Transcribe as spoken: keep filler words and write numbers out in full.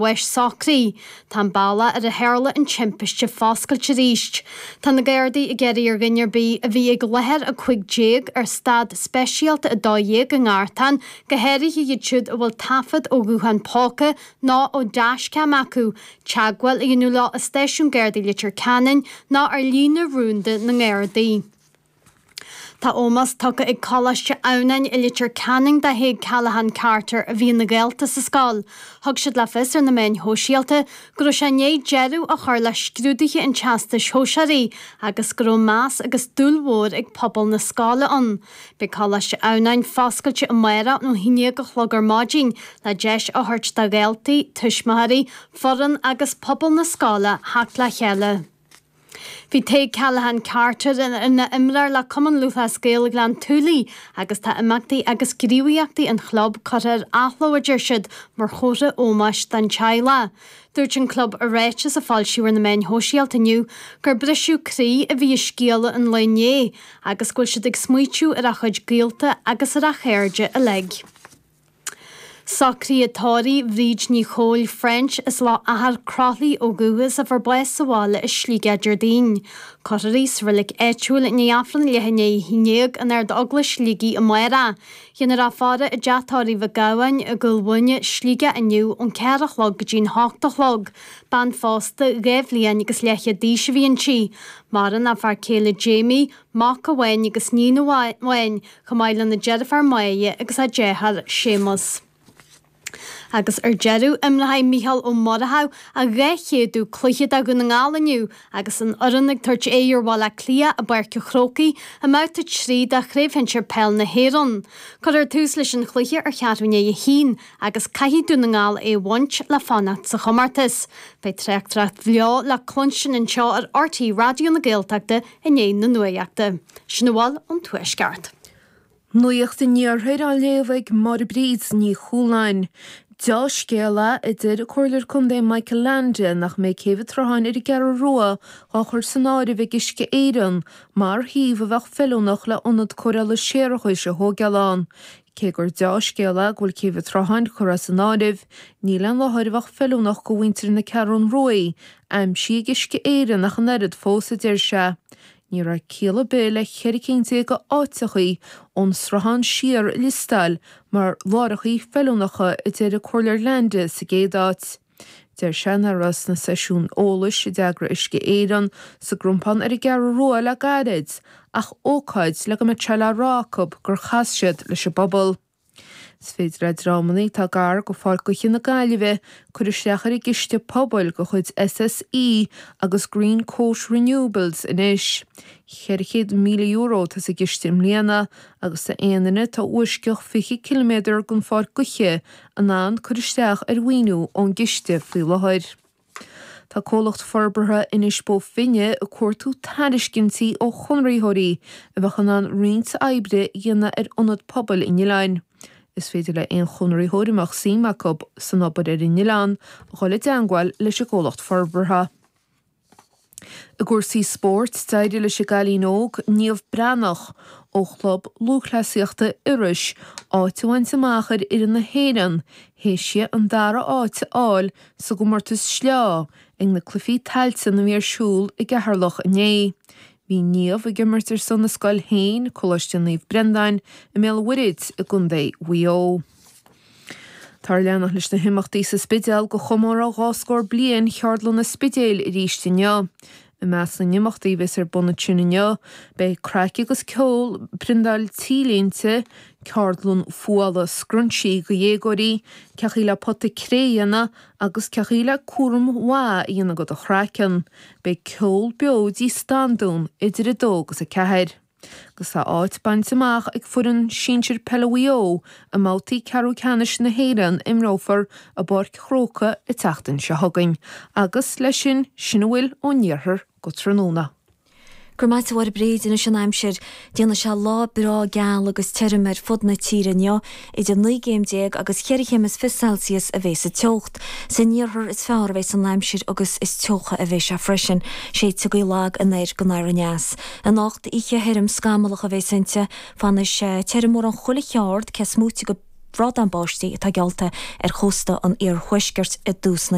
bháis socraithe. Tá an bealach ar a tharla an timpiste foscailte arís. Tá na Gardaí ag iarraidh ar dhuine ar bith a bhí ag láthair a cúig déag ar stad speisialta a dó dhéag i nGartán, go háirithe iad siúd a bhfuil taifead ó ghuthán póca nó ó dashcam acu, teagmháil a dhéanamh leo i stáisiún Gardaí Leitir Ceanainn nó ar líne rúnda na nGardaí. Tá ómós tugtha ag Coláiste Adhamhnáin i Leitir Ceanainn do Thaidhg Callaghan Carter a bhí ina dhalta sa scoil. Thug siad le fios ar na meáin shóisialta go raibh sé i ndiaidh deireadh a chur le scrúduithe an Teastais Shóisearaigh agus go raibh meas agus dúil mhór ag pobal na scoile ann. Beidh Coláiste Adhamhnáin foscailte amárach ón haon déag a chlog ar maidin le deis a thabhairt do dhaltaí, tuismitheoirí, foireann agus pobal na scoile theacht le chéile. Bhí Tadhg Callaghan Carter ina imreoir le Cumann Lúthchleas Gael Ghleann tSúilí agus tá imeachtaí agus gníomhaíochtaí an chlub curtha ar athló a deir siad mar chomhartha ómóis don teaghlach. Dúirt an club i ráiteas a foilsíodh ar na meáin shóisialta inniu gur briseadh croí a bhí i scéala an lae inné agus go bhfuil siad ag smaoitiú ar a chuid gaolta agus ar a chairde uilig. Socruithe tórraimh Bhríd Ní Chóil French as Loch Achar Croithlí ó dhúchas a fuair bás sa bhaile i Sligeach Déardaoin. Cuirfear í sa reilig áitiúil i ndiaidh Aifreann leath i ndiaidh a haon déag in Ard-Eaglais Shligigh amárach. Déanfar í a faire i dteach tórraimh Mhic Gabhann i gCúil Mhuine, Sligeach inniu ón ceathair a chlog go dtí'n hocht a chlog. Bean phósta dhá bhliain agus leathchéad d'aois a bhí inti. Maireann a fear céile Jamie, mac amháin agus níon amháin, chomh maith lena deirfiúr Máire agus a deartháir Séamus. Agus ar deireadh imreoidh Mícheál Ó Murchú a dhá chéadú cluiche do Dhún na nGall inniu agus an fhoireann ag tabhairt aghaidh ar Bhaile Átha Cliath i bPáirc an Chrócaigh i mbabhta trí de Chraobh Shinsir Peil na hÉireann. Cuirfear tús leis an chluiche ar cheathrú i ndiaidh a haon agus caithfidh Dún na nGall é a bhaint le fanacht sa chomórtas. Beidh tráchtaireacht bheo le cluinstin anseo ar RTÉ Raidió na Gaeltachta i ndiaidh na nuachta. Sin a bhfuil ón Tuaisceart. Nuacht an Iarthair á léamh ag Máire Bríd Ní Chualáin. Dea-scéal é a deir Comhairleoir Contae Michael Leainde nach mbeidh Céibh an tSrutháin ar an gCeathrú Rua á chur san áireamh ag Uisce Éireann mar shuíomh a bheadh feiliúnach le ionad cóireála séarachais a thógáil ann. Cé gur dea-scéal é go bhfuil Céibh an tSrutháin curtha as an áireamh, níl aon láthair a bheadh feiliúnach do mhuintir na Ceathrún Ruaidh aimsithe ag Uisce Éireann ach an oiread fós, a deir sé. Ní raibh ciall ar bith le ceithre cinn déag d'áiteachaí ón Sruthán siar a liostáil mar láithreachaí feiliúnacha a deir an Comhairleoir Leainde sa gcéad áit. Deir sé nach raibh sna seisiúin eolais a d'eagraigh Uisce Éireann sa gCrompán ar an gCeathrú Rua le gairid ach ócáid le go mbeadh sé le rá acu gur chas siad leis an bpobal. Is féidir le dreamanna atá gar go Pháirc Gaoithe na Gaillimhe cur isteach ar an gCiste Pobail de chuid SSE agus Greencoat Renewables anois. Ceithre chéad míle euro atá sa gciste i mbliana agus tá aon duine atá i bhfoisceacht fiche ciliméadar den Pháirc Gaoithe in ann cur isteach ar mhaoiniú ón gciste faoi láthair. Tá comhlacht forbartha Inis Bó Finne ag cuartú tairiscintí ó chonraitheoirí a bheadh in ann roinnt oibre a dhéanamh ar ionad pobail an oileáin. Is féidir le aon chonraitheoir a mbeadh suim acu san obair ar an oileán a dhul i dteangmháil leis an gcomhlacht forbartha. I gcúrsaí spóirt, d'éirigh leis an gcailín óg Niamh Breathnach ó Chlub Lúthchleasaíochta Iorrais áit a bhaint amach ar fhoireann na hÉireann théis di an dara háit a fháil sa gcomórtas sleá ag na Cluichí Tailteann a bhí ar siúl i gCeatharlach inné. Bhí Niamh ag imirt ar son a scoil féin, Coláiste Naomh Brendáin, i mBéal an Mhuirthead i gContae Mhaigh Eo. Táthar ag leanacht leis na himeachtaí sa Spidéal do chomóradh dhá scór bliain Cheardlann an Spidéil arís inniu. I measc na n-imeachtaí a bheas ar bun ansin inniu, beidh craic agus ceol, priontáil T-léinte, ceardlann fuála scrunchie do dhéagóirí, cén chaoi le pota cré a dhéanamh agus cén chaoi le cúram maith a dhéanamh do do chraiceann. Beidh ceol beo i dTigh Standún idir a dó agus a ceathair. Agus tá áit bainte amach ag foireann sinsir peile Mhaigh Eo i mbabhtaí ceathrú ceannais na hÉireann a imreofar i bPáirc an Chrócaigh an tseachtain seo chugainn. Agus leis sin, sin a bhfuil ón iarthar go tráthnóna. Go raibh maith agat a Mháire Bríd anois an aimsir. Déanfaidh sé lá breá geal agus tirim ar fud na tíre inniu, idir naoi gcéim déag agus cheithre chéim is fiche Celsius a bheas an teocht. San iarthar is fearr a bheas an aimsir agus is teocha a bheidh sé freisin. Séidfidh gaoth lag anoir go anoir aneas. Anocht oíche thirim scamallach a bheas inti. Fanfaidh sé tirim mórán chuile cheard, cé is móite go bhrádán báistí atá geallta ar chósta an iarthuaiscirt i dtús na